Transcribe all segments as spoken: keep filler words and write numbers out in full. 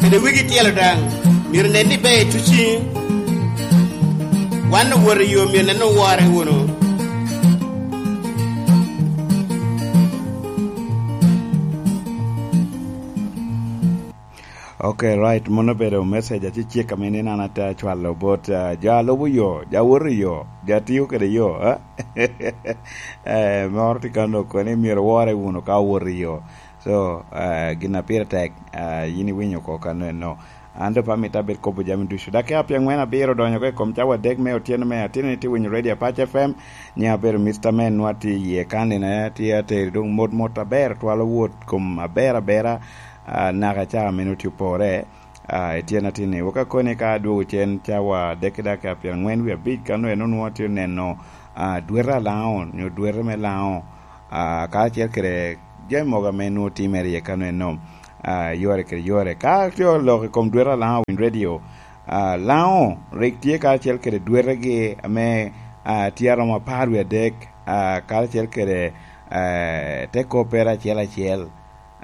Kede wigi tyelo daŋ, myero nen ni ber i tuci. Wan owoto i yo, myero nen owore wunu. Ok, right. Mano obedo message acecek ame ni an ate acwalo bot, ah, jo a lubo yo, jo a woto i yo, jo a tiyo kede yo, eh? Eh, moro tye ka noko ni myero owore wunu ka owoto i yo. So, ah, gin a pire tek, ah, yin iwinyo oko kano eno. An doŋ pe amito abed kobo jami ducu. Dakika pyeŋwen abiro donyo oko i kom cawa adek me otyeno me atino ni tye winyo Radio Apac F M. Nyiŋa abedo Mister Man, nwa tye iye kan, ina tye ateri doŋ mot mot aber, twalo wot kom aber abera, ah, naka ca meno tye opore, ah, i tyen atin-ni. Wek akoni ka adwogo cen cawa adek ki dakika pyeŋwen wie abic, kano eno nwa tye neno, ah, dwete a Laŋo, nyo dwete me Laŋo, ah, karacel kede jami mogo ame nwoŋo timere iye kano eno, ah, yore kede yore. Ka tye olok i kom dwete a Laŋo Winy Radio, ah, Laŋo rik tye karacel kede dwetegi ame, ah, tye aromo apar wie adek, ah, karacel kede, eh, te koppere acel acel.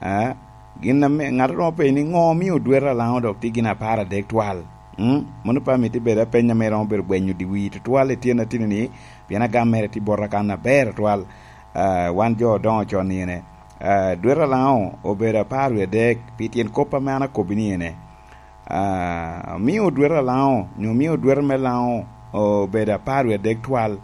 Ah, gin ame ŋat romo penyo ni, "Ŋo omio dwete a Laŋo dok tye gin apar adek twal?" Mm? Mano pe amito bedo apeny ame romo bedo gwenyo dyewii tutwal i tyen atino-ni, pien agam mere tye bota kan aber atwal. Ah, wan jo odoŋo con ni ene. Ah, dwete a Laŋo obedo apar wie adek, pi tyen kop ame an akobbi ni ene. Ah, omio dwete a Laŋo, nyo omio dwete me Laŋo obedo apar wie adek twal.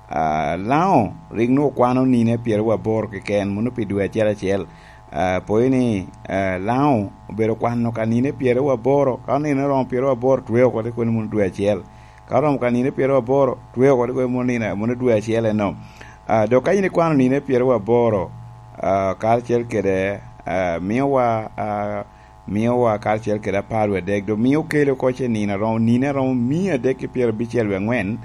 Ah, Laŋo rik nwoŋo kwano nine pyeraryo aboro keken, mano pi dwe acel acel. Ah, pwod ni, ah, Laŋo obedo kwano ka nine pyeraryo aboro, ka nine oromo pyeraryo aboro, twe oko te kono mano dwe acel. Ka oromo ka nine pyeraryo aboro, twe oko te kono mano nine, mano dwe acel eno. Ah, dok ka in ikwano nine pyeraryo aboro, ah, karacel kede, ah, miowa, ah, miowa karacel kede apar wie adek, dok mio kelo oko ce nino aromo, nino aromo mia adek ki pyerabicel wie aŋwen,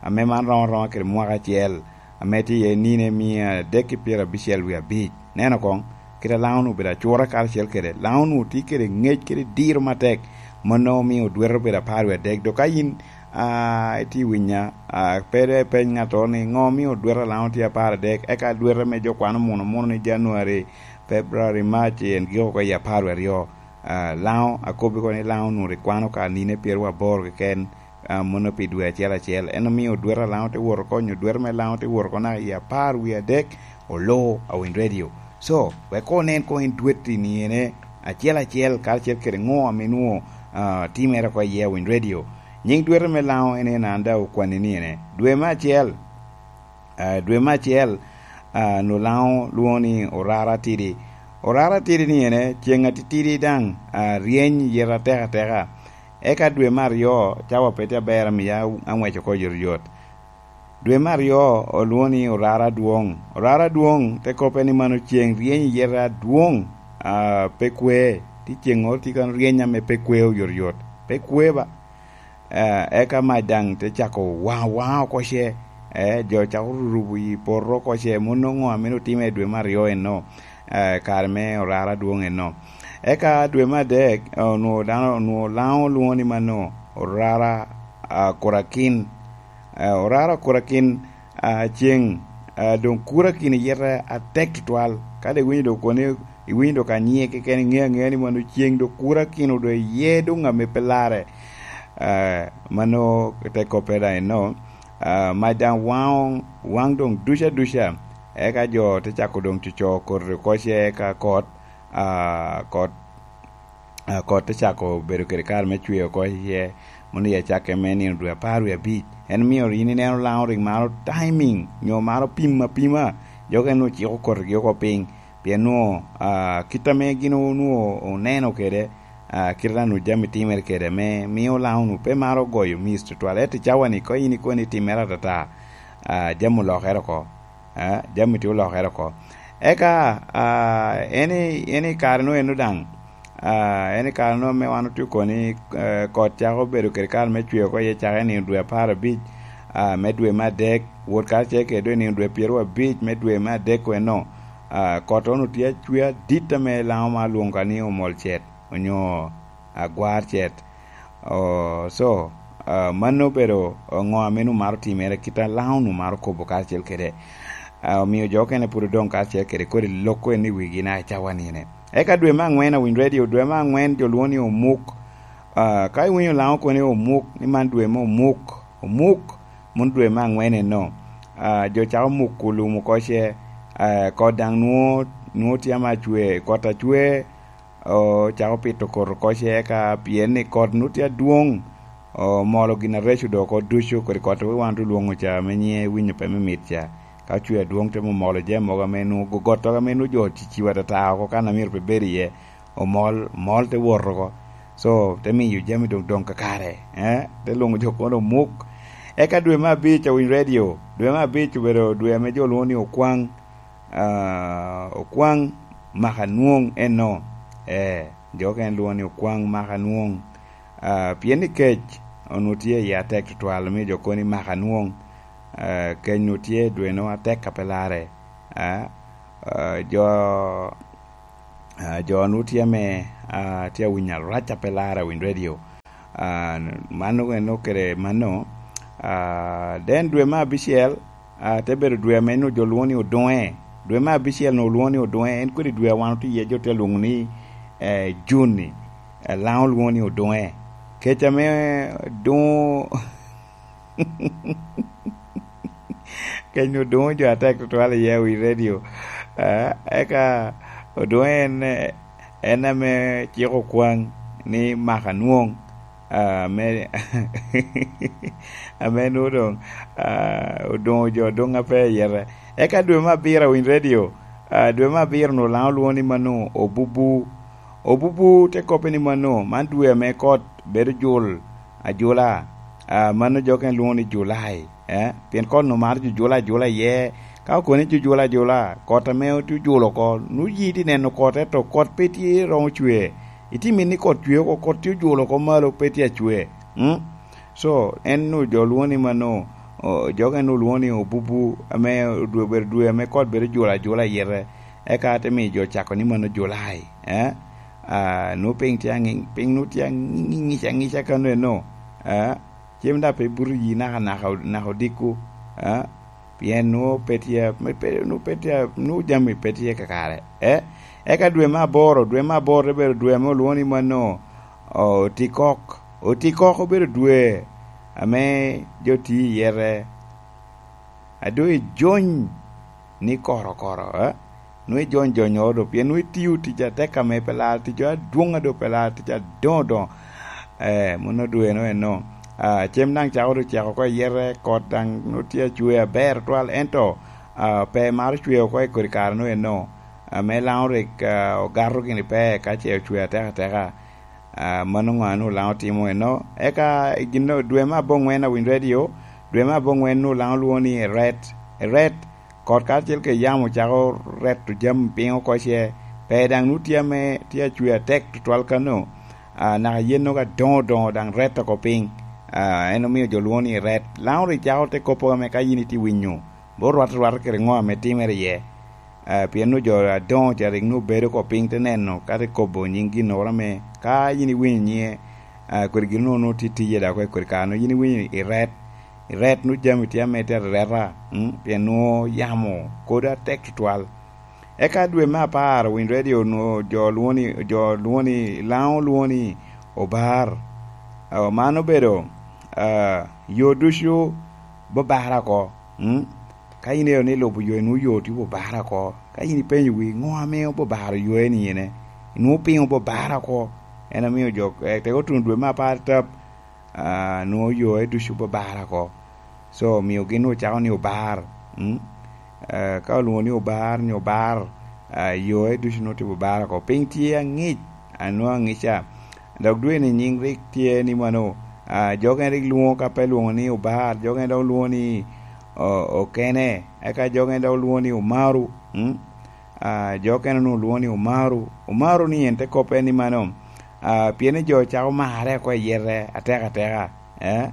ame man romo aroma kede mwaka acel, ame tye iye nino mia adek ki pyerabicel wie abic. Neno koŋ, kit a Laŋo-nu obedo acura karacel kede, Laŋo-nu tye kede ŋec kede diro matek, mano omio dwete obedo apar wie adek. Dok ka yin, ah, itye winya, ah, pe dok ipeny ŋattoro ni, "Ŋo omio dwete a Laŋo tye apar adek?" Eka dwete me jo kwano muno, muno ni January, February, March, en giko oko i apar wie aryo. Ah, Laŋo, akobbi kono ni Laŋo onwoŋo rik kwano ka nine pyeraryo aboro keken, ah, mano pi dwe acel acel. En omio dwete a Laŋo te wot oko, nyo dwete me Laŋo te wot oko naka i apar wie adek, olo Awiny Radio. So, wek koŋ onen koŋ en dweti ni ene acel acel, karacel kede ŋo ame nwoŋo, ah, timere oko iye Awiny Radio. Nyiŋ dwete me Laŋo en en an daŋ okwanni ni ene. Dwe me acel, ah, dwe me acel, ah, nwoŋo Laŋo lwoŋo ni orara atidi. Orara atidi ni ene, ceŋ atitidi daŋ, ah, ryeny yet atek ateka. Eka dwe me aryo, cawa pe tye aber, amiya aŋwec oko yotyot. Dwe me aryo olwoŋo ni orara adwoŋ. Orara adwoŋ te kobbe ni mano ceŋ ryeny yet adwoŋ, ah, pe kwe. Tye ceŋŋoro tye kan ryeny ame pe kwe oyotoyot. Pe kwe ba. Eh, eka mac daŋ te cako waŋ, waŋ oko ce, eh, jo cako rurubo i poto oko ce, mano ŋo ame otime i dwe me aryo eno, eh, kare me orara adwoŋ eno. Eka dwe me adek, eh, onwoŋo dano, onwoŋo Laŋo lwoŋo ni mano orara, ah, kurakin. Eh, orara kurakin, ah, ceŋ, ah, doŋ kurakin iyete atek tutwal. Ka doŋ iwinyo doŋ kono, iwinyo doŋ ka nyiŋe keken, iŋeo aŋea ni mano ceŋ doŋ kurakin odoŋ iye doŋ ame pe larre. Ah, mano te koppere daŋ eno. Ah, mac daŋ waŋo, waŋ doŋ duca duca. Eka jo te cako doŋ coco koti oko ce, eka kot, ah, kot, ah, kot te cako bedo kede kare me cwer oko iye. Mano i acakke me nino dwe apar wie abic. En mio yin ineno Laŋo rik maro timing, nyo maro pim apima. Jo okene ociko kotigi oko piny. Pien nwoŋo, ah, kit ame gin onwoŋo oneno kede, ah, kit ame onwoŋo jami timere kede, me mio Laŋo onwoŋo pe maro goyo miss tutwal. Ento i cawa-ni, ka in ikobo ni timmere atata, ah, jami olokere oko. Ah, jami tye olokere oko. Eka, ah, en i, en i kare-nu eno daŋ, ah, en i kare-nu ame wan otye kono ni, eh, kot cako bedo kede kare me cwer oko iye, cakere i nino dwe apar abic, ah, me dwe me adek, wot karacel kede doŋ i nino dwe pyeraryo abic me dwe me adek eno, ah, kot onwoŋo tye acwer adit ame Laŋo ma lwoŋo ka ni omol cet, onyo agwar cet. Oh, so, ah, mano obedo ŋo ame onwoŋo maro timere, kit a Laŋo onwoŋo maro kobo karacel kede. Ah, omio jo okene pwod odoŋ karacel kede kodi loko en i wigi naka i cawa nine. Eka dwe me aŋwen, awinyo redio, dwe me aŋwen jo lwongo ni omuk. Ah, ka iwinyo Laŋo kono ni omuk, ni man dwe me omuk, omuk, mano dwe me aŋwen eno. Ah, jo cako muko lum oko ce, ah, kot daŋ nwoŋo, nwoŋo tye ame acwe, kot acwe, ocako pito kot oko ce, eka pien ni kot nwoŋo tye adwoŋ, omolo gin areco dok oko ducu, kodi kot wan otye lwoŋo ca, ame nyiŋe iwinyo pe me mit ca. Ka cwe adwoŋ te momolo jami mogo ame nwoŋo go-, gottogo ame nwoŋo jo ociciwa atata oko kan a myero pe bed iye, omol, omol te wot oko. So, te miyo jami doŋ doŋ kakare, eh? Te lwoŋo jo kono omuk. Eka dwe me abic, awinyo redio, dwe me abic obedo dwe ame jo lwoŋo ni okwaŋ, ah, okwaŋ maka nwoŋ eno. Eh, jo okene lwoŋo ni okwaŋ maka nwoŋ. Ah, pien ni kec onwoŋo tye i atek tutwal, omio jo kono ni maka nwoŋ. Ah, kec onwoŋo tye dwe nwoŋo atek a pe larre. Ah, ah, jo, ah, jo nwoŋo tye ame, ah, tye awinyo arac a pe larre, awinyo redio. Ah, mano en okele mano. Ah, then dwe me abicel, ah, te bedo dwe ame nwoŋo jo lwoŋo ni odoŋe. Dwe me abicel nwoŋo lwoŋo ni odoŋe. En kodi dwe a wan otye iye, jo tye lwoŋo ni, eh, Juni. Eh, Laŋo lwoŋo ni odoŋe. Kec ame doŋo, kec nwoŋo doŋo jo atek tutwal iye, awinyo redio. Ah, eka odoŋe en, en ame ciko kwaŋ ni maka nwoŋ. Ah, ame, ame nwoŋo doŋ, ah, odoŋo jo doŋ ape ayete. Eka dwe me abiro, awinyo redio, ah, dwe me abiro nwoŋo Laŋo lwoŋo ni mano obubu. Obubu te kobbe ni mano, man dwe ame kot bedo jul ajula. Ah, mano jo okene lwoŋo ni Julai, eh? Pien kot nwoŋo maro jujula ajula iye. Ka okoni jujula ajula, kot ame otye ojulo oko, nwoŋo yi tye neno kot, ento kot pe tye romo cwe. Itye mito ni kot cwe oko, kot tye ojulo oko malo, pe tye acwe. Mm? So, en nwoŋo jo lwoŋo ni mano, o, jo okene nwoŋo lwoŋo ni obubu, ame dwe, obedo dwe ame kot bedo jula ajula ayete, eka te miyo jo cako ni mano Julai, eh? Ah, nwoŋo piny tye aŋi-, piny nwoŋo tye aŋi-, ŋic aŋica kano eno, eh? Cem daŋ pe buto yi naka, naka, naka odiko, eh? Pien nwoŋo pe tye, me, pe, nwoŋo pe tye, nwoŋo jami pe tye kakare, eh? Eka dwe me aboro, dwe me aboro te bedo dwe ame olwoŋo ni mano, o, otikok. Otikok obedo dwe ame jo tye i yete. A doŋ ijony ni korokoro, eh? Nwoŋo ijony jonyoro do, pien nwoŋo itio tic atek ame pe laro, tic adwoŋ a doŋ pe laro, tic adoŋo doŋo. Eh, mano dwe no eno. Ah, cem daŋ cako doŋ cek oko i yete, kot daŋ nwoŋo tye acwe aber twal, ento, ah, pe maro cwe oko i kodi kare no eno. Ame Laŋo rik, ah, ogato gini pe, ka ce ocwe atek ateka. Ah, mano ŋo a nwoŋo Laŋo timo eno? Eka i gin, dwe me aboŋwen, awinyo redio, dwe me aboŋwen nwoŋo Laŋo lwoŋo ni Eret. Eret, kot karacel kede yamo cako reto jami piny oko ce, pe daŋ nwoŋo tye ame tye acwe atek tutwal kano, ah, naka yen nwoŋo adoŋo doŋo daŋ reto oko piny. Ah, en omio jo lwoŋo ni Eret. Laŋo rik cako te kop ame ka yin itye winyo, bot rwatte rwata kede ŋo ame timere iye. Ah, pien nwoŋo jo adoŋo ca rik nwoŋo bedo oko piny te neno, ka te kobo nyiŋ ginnoro ame ka yin iwinyo nyiŋe, ah, kodi gin nwoŋo nwoŋo tye tiye dok i kodi kare nwoŋo yin iwinyo i ret, i ret nwoŋo jami tye ame tye areta, mm, pien nwoŋo yamo kodi atek tutwal. Eka dwe me apar, owinyo redio nwoŋo jo lwoŋo ni, jo lwoŋo ni, Laŋo lwoŋo ni obar. Ah, man obedo, ah, yo ducu bobara oko, mm. Ka in ero ni ilubo yo, inwoŋo yo tye obobara oko. Ka in ipenyo wi, ŋo ame obobaro yo eni ene? Inwoŋo piny obobara oko. En omio jo, eh, teko tuno dwe me apar tap, ah, nwoŋo yo e ducu obobara oko. So, omio gin nwoŋo cako ni obar. Mm? Eh, ka olwoŋo ni obar, ni obar, ah, yo e ducu nwoŋo tye obobara oko. Piny tye aŋic, anwoŋo aŋica. Dok dwe ni nyiŋ rik tye ni mano, ah, jo okene rik lwoŋo ka pe lwoŋo ni obar, jo okene dok lwoŋo ni o-, okene, eka jo okene dok lwoŋo ni omaru, mm? Ah, jo okene onwoŋo lwoŋo ni omaru. Omaru ni en te kop en ni mano, ah, pien ni jo cako marre oko i yete atek ateka, eh?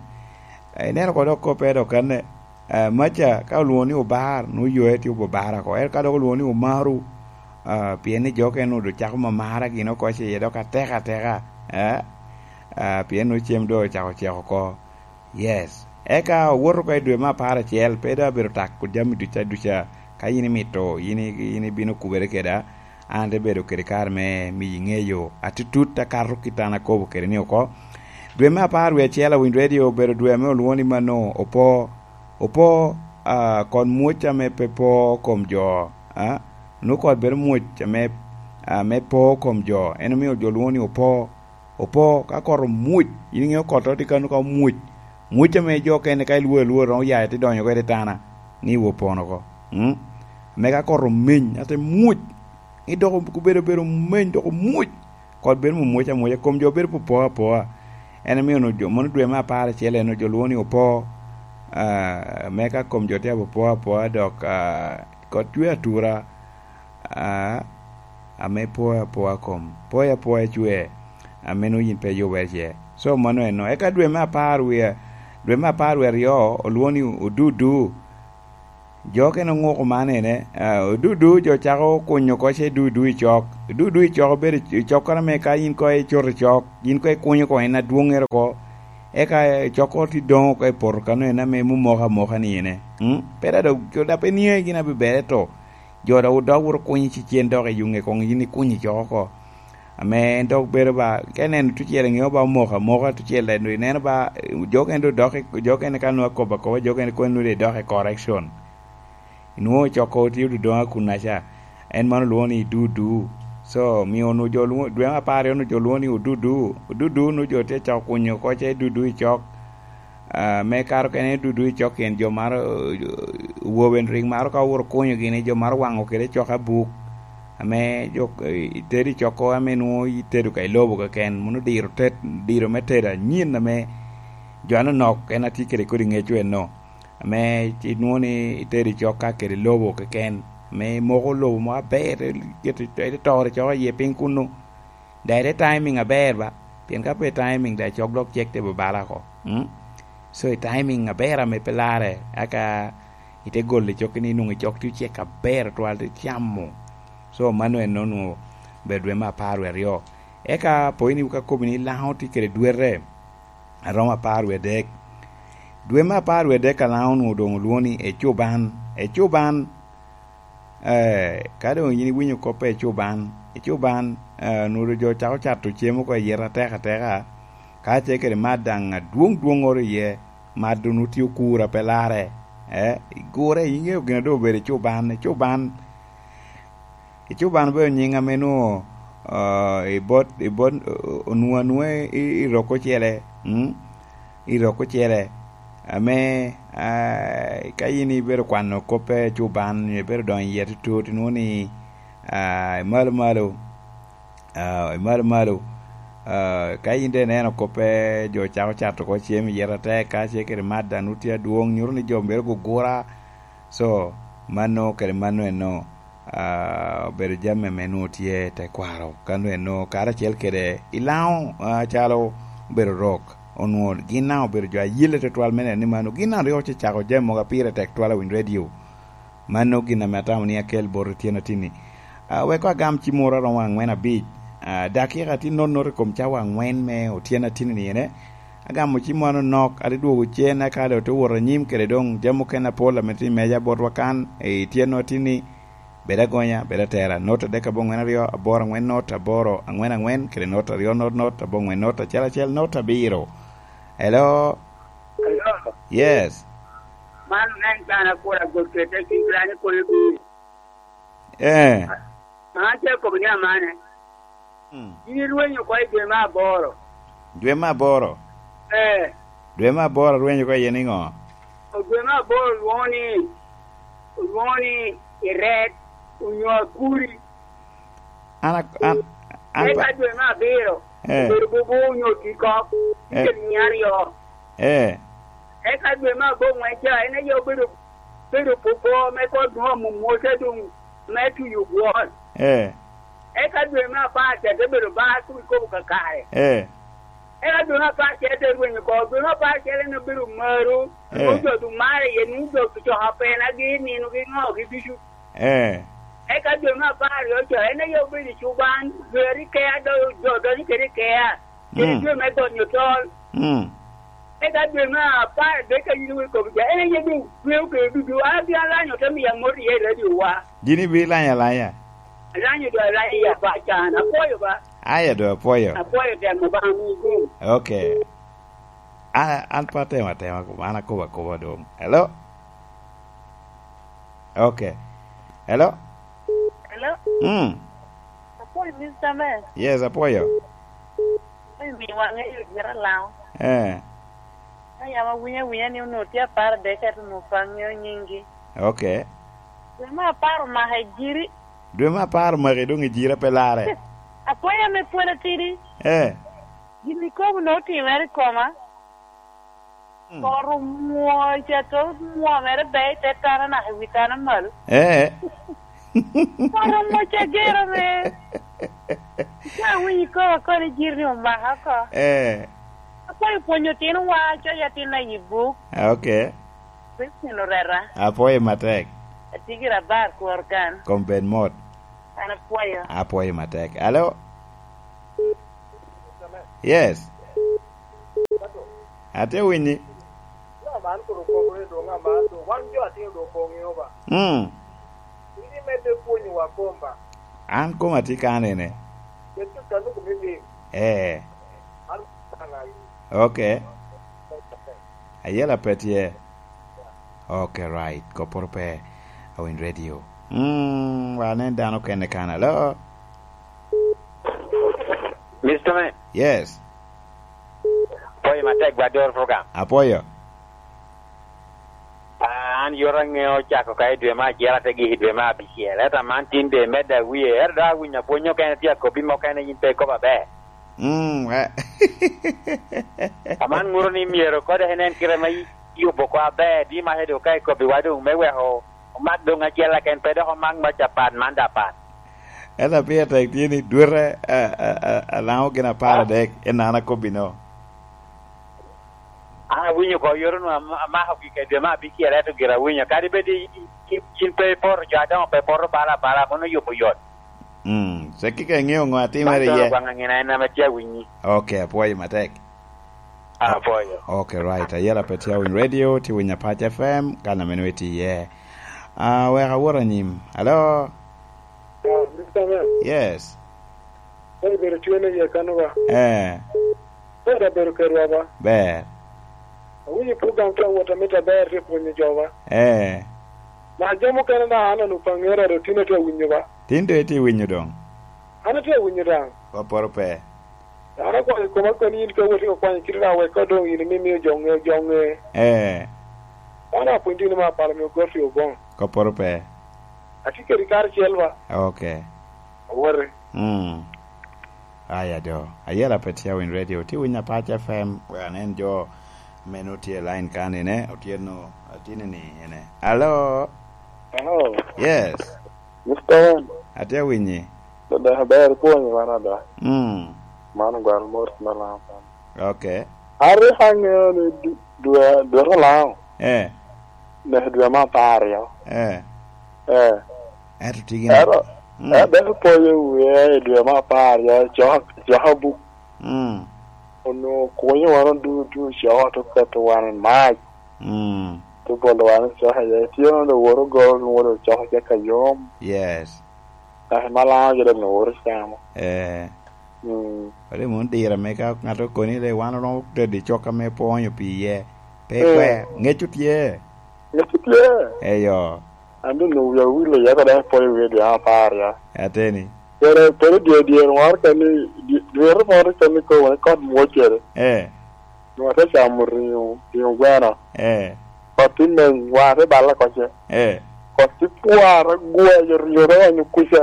Ineno ko dok koppe dok kanne, ah, maca ka olwoŋo ni obar, nwoŋo yoe tye obobara oko. Ento ka dok olwoŋo ni omaru, ah, pien ni jo okene onwoŋo doŋ cako mamara gin oko ce iye dok atek ateka, eh? Ah, pien nwoŋo cem doŋ ocako cek oko. Yes. Eka owoto oko i dwe me apar acel, pe doŋ abedo tak jami duca duca. Ka in imito, in i-, in ibino kubere keda, An te bedo kede kare me miyi ŋeyo atutut akato kit an akobo kede ni oko. Dwe me apar wie acel Awiny Radio obedo dwe ame olwoŋo ni mano opo, opo, ah, kon mwoc ame pe po kom jo, ah, nwoŋo kot bedo mwoc ame, ah, me po kom jo. En omio jo lwoŋo ni opo, opo, ka kot omwoc, in iŋeo kot tye kano ka omwoc. Mwoc ame jo okene ka ilwor alwora romo ya ite donyo oko i tana, ni iwo pono oko. Mm? Ame ka kot omeny, ate mwoc. I dok obedo, bedo meny, dok omwoc. Kot bedo mwoc amwoca, kom jo bedo popo apoa. En omio onwoŋo jo, mono dwe me apar acel en onwoŋo jo lwoŋo ni opo, ah, me ka kom jo tye apopo apoa, dok, ah, kot cwe atura, ah, ame poa apoa kom, poa apoa cwe, ame nwoŋo yin pe yubere ce. So, mano eno. Eka dwe me apar wie, dwe me apar wie aryo, olwoŋo ni odudu. Jo okene oŋuko man ene, ah, odudu jo cako kunyo oko ce dudu i cok. Dudu i cok obedo i cokkoro ame ka yin koŋ icoto i cok, yin koŋ ikunyo oko en adwoŋŋere oko. Eka i cok oko tye doŋ oko i poto kano en ame mumoko amoka ni ene. Mm? Pe da dok, jo da pe niaŋe gin abibere to. Jo dok odok wot okunyo cicen dok i yuŋe koŋ yin ikunyo i cok oko. Ame en dok bedo ba, ka ineno tucel iŋeo ba omoko amoka, tucel eno ineno ba, eh, jo okene dok dok i, jo okene ka nwoŋo akobo akoba, jo okene kono nwoŋo dok i correction. Inwoŋo coko tye ododoŋa kun aca. En man olwoŋo ni dudu. So, mio onwoŋo jo lwoŋo, dwe me apar aryo onwoŋo jo lwoŋo ni odudu. Odudu onwoŋo jo tye cako kunyo oko ce dudu i cok. Ah, me kare okene dudu i cok en jo maro, eh, wobe rik maro ka owuro kunyo gini, jo maro waŋo kede cok abuk. Ame jo, eh, itedo i cok ame nwoŋo itedo ka i lobo keken, mono diro tet, diro me tedo anyin ame jo anonok en atye kede kodi ŋeco eno. Ame inwoŋo ni itedo i cok ka kede lobo keken, ame imoko lobo mo aber, iketo, ite toro i cok iye piny kunnu. Daŋ ite timing aber ba, pien ka pe timing daŋ cok dok cek te babala oko. Mm? So, i timing aber ame pe larre, aka ite golo i cokki ni nwoŋo i cok tye ocek aber twal, te camo. So, mano en onwoŋo obedo dwe me apar wie aryo. Eka po in ka kobo ni Laŋo tye kede dwete, aromo apar wie adek. Dwe me apar wie adek a Laŋo onwoŋo doŋ olwoŋo ni ecuban. Ecuban, eh, ka doŋ yin iwinyo kop a ecuban, ecuban, eh, onwoŋo jo cako cato cem oko i yet atek ateka, ka ce kede mat daŋ adwoŋ dwoŋŋoro iye, mat onwoŋo tye okur a pe larre, eh, igure, iŋeo gin a doŋ obedo ecuban, ecuban. Ecuban obedo nyiŋ ame nwoŋo, ah, i bot, i bot, o-, onwoŋo anwoŋa i, i rok ocele, mm? I rok ocele. Ame, ah, ka yin ibedo kwano kop a ecuban, nyo ibedo donyo iye tutut, inwoŋo ni, ah, imalo malo, ah, imalo malo. Ah, ka yin doŋ ineno kop a jo cako cato oko cem i yet atek, ka ce kede mat daŋ nwoŋo tye adwoŋ, nyuto ni jo myero gugura. So, mano kede mano eno, ah, obedo jami ame nwoŋo tye i tekwaro, ka nwoŋo eno karacel kede i Laŋo, ah, calo obedo rok, onwoŋo gin daŋ obedo jo ayelle tutwal me neno ni mano gin daŋ rik ocecako jami mogo a pire tek twal Awiny Radio. Mano gin ame atamo ni akel bot otyeno atinni. Ah, wek agam cim moro aromo aŋwen abic, ah, dakika tye nonot i kom cawa aŋwen me otyeno atinni ene. Agamo cim moro nok, ate dwogo cen, eka doŋ te wot anyim kede doŋ jami mukene apol ame tye i meja botwa kan, i tyenwa tini, bed agonya, bed atera, not adek aboŋwen aryo, aboro aŋwen not, aboro aŋwen aŋwen, kede not aryo not not, aboŋwen not, acel acel not, abiro. Hello? Hello? Yes. Man en kan akura got kede cim rani koyo bi. Eh. An ce kobo ni amane. Mm. Yin irwenyo oko i dwe me aboro. Dwe me aboro? Eh. Dwe me aboro rwenyo oko iye niŋo? O dwe me aboro lwoŋo ni, lwoŋo ni iret, onyo akuri. An ak-, an, an eka pa- dwe me abiro, eh, obedo bobo onyo tikok, eh, icel mia aryo. Eh. Eka dwe me aboŋwen ca, en aye obedo, bedo popo me kot nwoŋo mumwoca doŋ me tuyo gwon. Eh. Eka dwe me apar ca te bedo bar kun ikobo kakare. Eh. Eka dwe me apar ca te rwenyo oko. Dwe me apar ca en obedo maru, eh, nwoŋo jo doŋ mare iye, nwoŋo jo ocoko apena gi nino gi ŋo gi ducu. Eh. Eka dwe me apar aryo ca, en aye obedo i cuban, dwe aryo kea, do-, jo donyo kede i kea. Kede, mm, dwe me gonyo tol. Mm. Eka dwe me apar adek ka yin iwinyo kop ca, en aye doŋ tweo kede ducu. An abino lanyo te miyo amot iye i radiowa. Gin ibino lanyo alanya. Alanyo do alanyo ya ba can. Apoyo ba. Aya do apoyo. Apoyo temo ba mi gum. Okay. A, an pa tema tema ko, an akoba koba dong. Hello? Okay. Hello? Hello? Mm. Apoyo, Mister Man. Yes, apoyo. Apoyo, mi wange yo jira lao. Eh. Ayama winya winya ni onwo tye apar dek, ento onwo pa ngeo nyingi. Okay. Dwe me apar omaka i jiri. Dwe me apar omaki dong i jira pe larre. Apoyo me pwod atidi. Eh. Gin ikobo nongo otimere i koma. Mm. Kor omwoc, ato omwomere be i te tana naka i wi tana malo. Eh. Kor omwoc agero me. Ka awinyo ikobo kono i jiri ni omaka oko. Eh. Akwayo pwonyo otinowa, coyo atinna i buk. Ah, okay. Christine Oreta. Apwoyo matek. Atye gira bar kwor kan. Kom bed mot. An apwoyo. Apwoyo matek. Alo? Yes. Atye winyi. Mm. An koma tye kanene. Eh. Okay. Ayela pe tye. Okay, right. Koporo pe. Awin radio. Mm, wa nen dano kene kan. Alo? Mister Man. Yes. Apoyo matek, gwa dor program. Apoyo. Ah, an yot aŋeo cako ka i dwe me acel ate gik i dwe me abicel. Ento aman tin de medde awie. Ento dok awinyo apwony okene tye akobi mokene yin pe ikobo aber. Mm, eh. Aman ŋuto ni myero kode en en kite ma yubo oko aber, di mac doŋ ka ikobiwa doŋ me weko omak doŋ acel aken, pe dok omak mac apat, man da apat. Ento pire tek tye ni dwete, a, a, a, alaŋo gin apar adek, en an akobbi no. An awinyo oko yore nu am-, amako gik i dwe me abicel, ento gire awinyo. Kadi bed i, i, i, cin pe ipoto, jo adoŋo pe poto bala bala, mano yubo yot. Mm, cakki ka iŋeo ŋo atimere iye. Gwaŋ aŋina en ame tye awinyi. Ok, apwoyo matek. Apwoyo. Ok, right. Ayela pe tye awiny radio, tye winyo Apac F M, kan ame nwe tye iye. Ah, wek awot anyim. Alo? Ah, Mister Man. Yes. Ka ibedo tye ni iye kano ba? Eh. Ber abedo kedwa ba? Ber. Awinyo program tye awot amit aber tye pwonyo jo ba? Eh. Na jo mukene na an onwoŋo pe aŋeo ado tin atye awinyo ba? Tin doŋ itye winyo doŋ? An atye awinyo daŋ. Kopporo pe. An akwayo koma koni in ka wot ikwanyo kite na wek ka doŋ in imimio jo ŋe, jo ŋe. Eh. An apwony tye ni ma apalo mio goti oboŋo. Kopporo pe. Atye kedi karacel ba? Ok. Awote. Mm. Aya do. Ayela pe tye awiny radio. Tye winyo Apac F M. Wek anen jo meno tye i line kan ine. Otyeno atini ni ene. Alo? Hello. Yes. Mister Wan. Atye awinyi. Dada, ber pwonyo wan ada. Mm. Man ogwaro mot me Lango kan. Ok. An rik aŋeo ni du-, dwe, dwe te Lango. Eh. Neke dwe me apar aryo. Eh. Eh. Ento tye gin. Ero, mm, ebe apoyo wie i dwe me apar aryo, coko, coko buk. Mm. Onwoŋo kunyo wan ducu, coko te keto wan i mac. Mm. Te bolo wan i coko iye. Tye onwoŋo dok woro goro, nwoŋo dok coko cek ayom. Yes. Kare ma Lango gire nwoŋo woro camo. Eh. Mm. Ori mom dire me ka ŋat okoni le wan oromo tedo i cok ame pwonyo pi iye. Pe, mm, kwer, ŋec tye. Ŋec tye. Eyo. An doŋ onwoŋo wia owil iye, ka dok apwoyo wie dwe apar ya. Ateni. Pwod, pwod dye, dye woro keni, dye, dye woro keni kono kot mwocere. Eh. Nwoŋo ate camo ringo, ringo gweno. Eh. Kot tye meny, wa ate balle oko ce. Eh. Kot tye pworo, gweyo ringo te onyo kuca.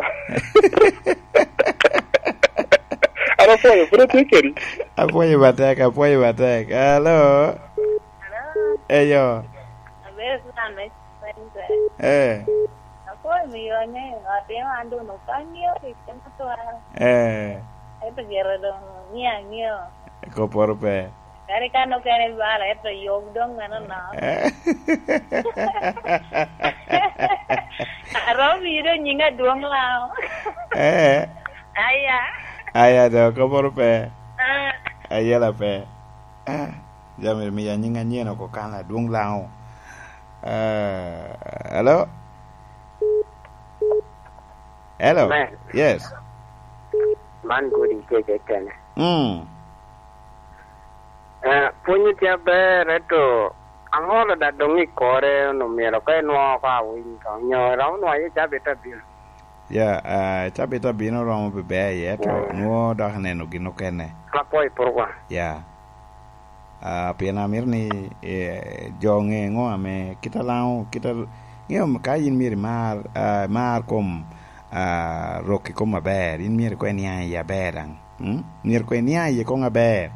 An apwoyo, pwod atye kedi. Apwoyo matek, apwoyo matek. Alo? Alo? Eyo. Abedo Sudan me Center. Eh. Apwoyo miyo ne, atimo an doŋ okanyo pi kema twal. Eh. Ento gire doŋ ni aŋeo. Kopporo pe. Kadi kan okene bala, ento yom doŋ meno no. Eh. Aromo miyo doŋ nying adwoŋ Lango. Eh. Aya. Aya do, kopporo pe. Ah. Ayela pe. Ah. Jami miya nying anyen oko kan adwoŋ Lango. Ah, hello? Hello. Amen. Yes. Man godi kece kene. Mm. Eh, pwonyo tye aber, ento aŋolo da doŋ i kore, onwoŋo myero ka inwoŋo oko awiny to, onyo romo nwoŋo aye cabit abino. Ya, ah, cabit abino romo beber iye, to nwoŋo dok aneno gin okene. Apwoyo i purwa. Ya. Ah, pien amito ni, eh, jo ŋe ŋo ame kit a Laŋo, kit a, ŋeo ka yin myero imar, ah, imar kom, ah, rok i kom aber, yin myero koŋ iniaŋ iye aber daŋ. Mm? Myero koŋ iniaŋ iye koŋ aber.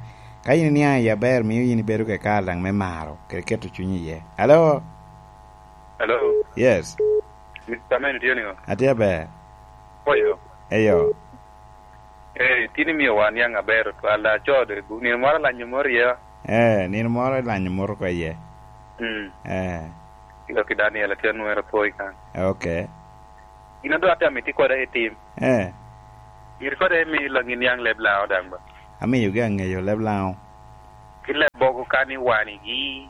Ka yin iniaŋ iye aber, mio yin ibedo kede kare daŋ me maro, kede keto cuny iye. Alo? Hello? Yes. Mister Men, itye niŋo? Atye aber. Oyo. Eyo. Eh, tin imio wa niaŋ aber otwal, acode, nino moro alanyo moro iye. Eh, nino moro ilanyo moro oko iye. Mm. Eh. Kilo ki Daniel, atye anwero poi kan. Ok. Gin a doŋ atye amito kode i tim. Eh. Myero kode imi Laŋo niaŋ leb Laŋo daŋ ba. Amiyogi aŋeyo leb Laŋo. Ki leb bogo kan i wanigi,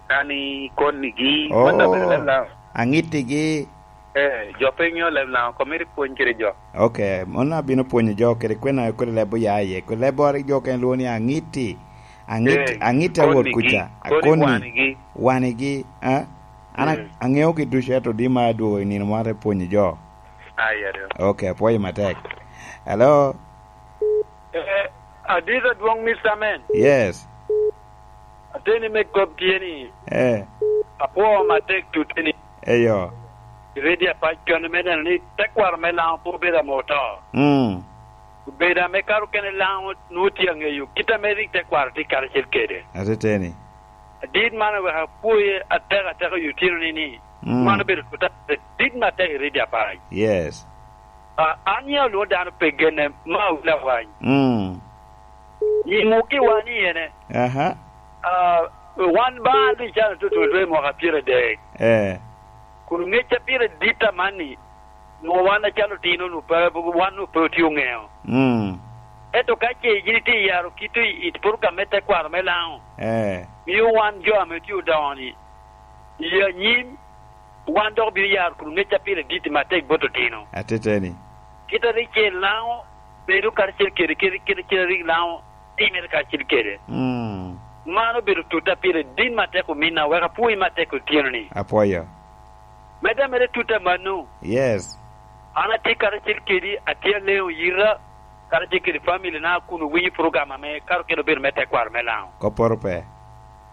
kan i konnigi, oh, mano daŋ bedo leb Laŋo. Aŋittigi. Eh, jo pe ŋeo leb Laŋo, komito ipwony kede jo. Ok, mano abino pwonyo jo kede kwena kodi leb oya iye. Kodi leb oro jo okene lwongo ni aŋitti. Aŋit-, eh, aŋit awot konnigi, kuca. Koni akoni wanigi. Wanigi, eh? An a-, mm, aŋeogi ducu, ento di ma adwogo i nino moro te pwonyo jo. Ai, ado. Ok, apwoyo matek. Hello? Eh, adit adwoŋ, Mister Men. Yes. Ateni me kop tye ni, eh, apwoo matek tuteni. Eyo. I redio apac kene me neno ni tekwaro me Laŋo pe obedo ame oto. Mm. Obedo ame kare okene Laŋo nwoŋo tye aŋeyo kit ame rik tekwaro tye karacel kede. Ateteni. Adit man oweko apwoye atek ateka i otyeno ni, ni, mm, man obedo tuta dit matek i redio apac. Yes. Ah, an ya olwoŋo dano pe genne, ma awilo awany. Mm. Nyiŋ okki wan i ene. Aha. Ah, wan ba an rik calo tutu lwe mwaka pyeradek. Eh. Kun ŋecca pire dit amanni, nwoŋo wan acalo otino nu pe, wan nu pe otye oŋeo. Mm. Ento ka ce yin itye yaro kit i, i program me tekwaro me Laŋo, eh, mio wan jo ame tye odoŋo-ni, i anyim, wan dok obino yaro kun ŋecca pire dit matek bot otino. Ateteni. Kit a rik ce Laŋo bedo karacel kede, kede, kede, kede rik Laŋo timere karacel kede. Mm. Man obedo tutta pire dit matek ominna, wek apwoyi matek otyeno-ni. Apwoyo. Medde amedde tutta mano. Yes. An atye karacel kedi, atye aleŋo yita, karacel kede family na kun owinyo program ame kare okene obedo me tekwaro me Laŋo. Kopporo pe.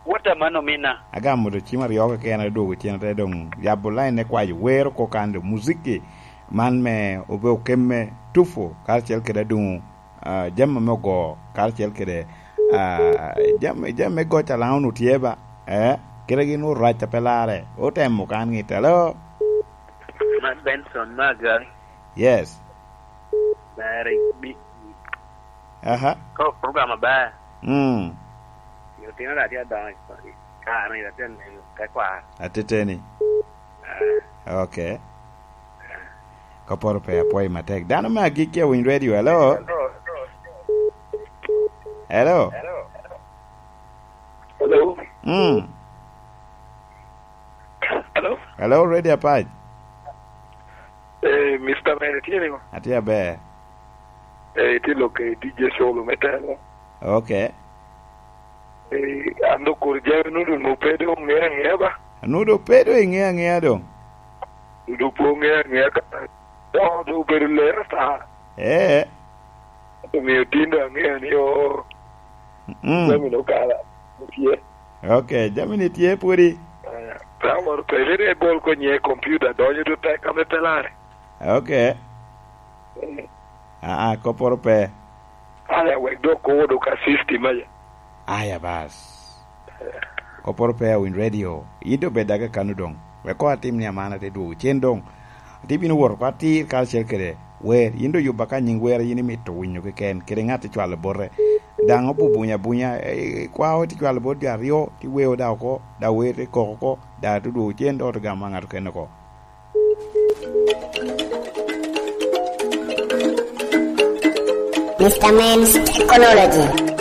Wot amanno ominna. Agamo doŋ cim aryo keken, adwogo cen, ate doŋ yabo lain me kwayo wer oko kan doŋ muziki man me obe okemme tufu karacel kede aduŋu, ah, jami ame ogo karacel kede, ah, jami, jami me goc a Laŋo onwoŋo tye ba, eh, kite gin orac a pe larre, otemo kan ŋitte. Alo? Man Benson me Agari. Yes. Ber i, i, aha, ko program aber. Mm. Yo tino da tye adongo i kare ni, atye neno tekwaro. Ateteni. Ah. Ok. Kopporo pe, apwoyo matek. Dano me agikki awiny radio, hello? Hello? Hello? Mm. Hello? Hello, Radio Apac. Eh, Mister Men, itye niŋo? Atye aber. Eh, itye lok i D J Solo me telo. Ok. Eh, an doŋ kur jami nu doŋ pe doŋ ŋe aŋea ba. Nu doŋ pe doŋ iŋe aŋea doŋ. Nu doŋ pe oŋe aŋea ka. Doŋ doŋ obedo lero ata. Eh. Omiyo tin doŋ aŋeo ni, oo, mm, jami ni okala tye. Ok, jami ni tye pwodi. Eh, pe amoro pe, ni bol konye i kompiuta, donyo doŋ tek ame pe lare. Ok. Eh. Aa, kopporo pe. Aya, wek dok kowo doŋ ka system aya. Aya, bas. Kopporo pe, awiny radio. Yin doŋ bed daga kano doŋ. Wek koŋ atim ni aman ate dwogo cen doŋ. Ate bino wot oko atir karacel kede wer. Yin doŋ yubba ka nyiŋ wer a yin imito winyo keken, kede ŋat icwalo bote. Daŋ obubunya abunya, eh, kwao ite cwalo bot jo aryo, ti weo da oko, da wer te koko oko, da te dwogo cen doŋ te gamo ŋat okene oko. Mister Men's Technology.